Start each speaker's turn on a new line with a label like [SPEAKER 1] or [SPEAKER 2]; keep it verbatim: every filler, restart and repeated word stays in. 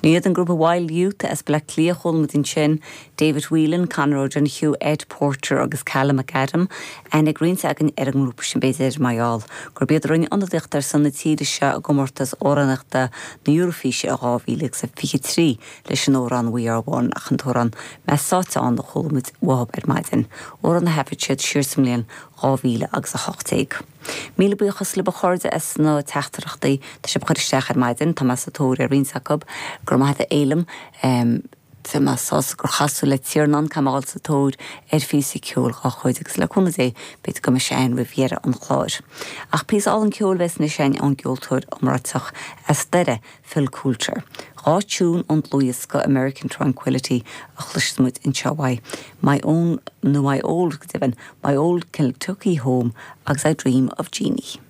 [SPEAKER 1] Sin iad an grúpa Wild Youth as Bleá Cliath chuala muid ansin David Whelan, Conor O'Donoghue, Ed Porter agus Callum McAdam aithne ag roinnt againn ar an ngrúpa sin b'fhéidir mar gheall gurb iad a rinne ionadaíocht ar son na tíre seo i gcomórtas amhránaíochta na Eurofíse a dhá mhíle agus a fiche trí leis an amhrán We Are One ach an t-amhrán Meas Sáiteán a chuala muid uathub ar maidin. Amhrán a thaifead siad siar sa mbliain dhá mhíle agus a hocht déag. Míle buíochas libh a chairde as na teachtaireachtaí tá sibh a chur isteach ar maidin tá mé sa tóir ar roinnt acu gur maith a élam Tá mé sásta gur chas tú le Tiarnán Camáil sa tóir ar phíosa ceoil dhá chuid agus le cúnamh Dé b'fhéidir go mbeidh sé ann roimh dheireadh an chláir. Ach píosa álainn ceoil a bheas anois againn ón gceoltóir iomráiteach as Doire Phil Coulter. Dhá tiún ón dlúthdhiosca American Tranquility a chloisfidh muid anseo uaidh. My own nó my old go deimhin, my old Kentucky home agus I dream of Jeannie.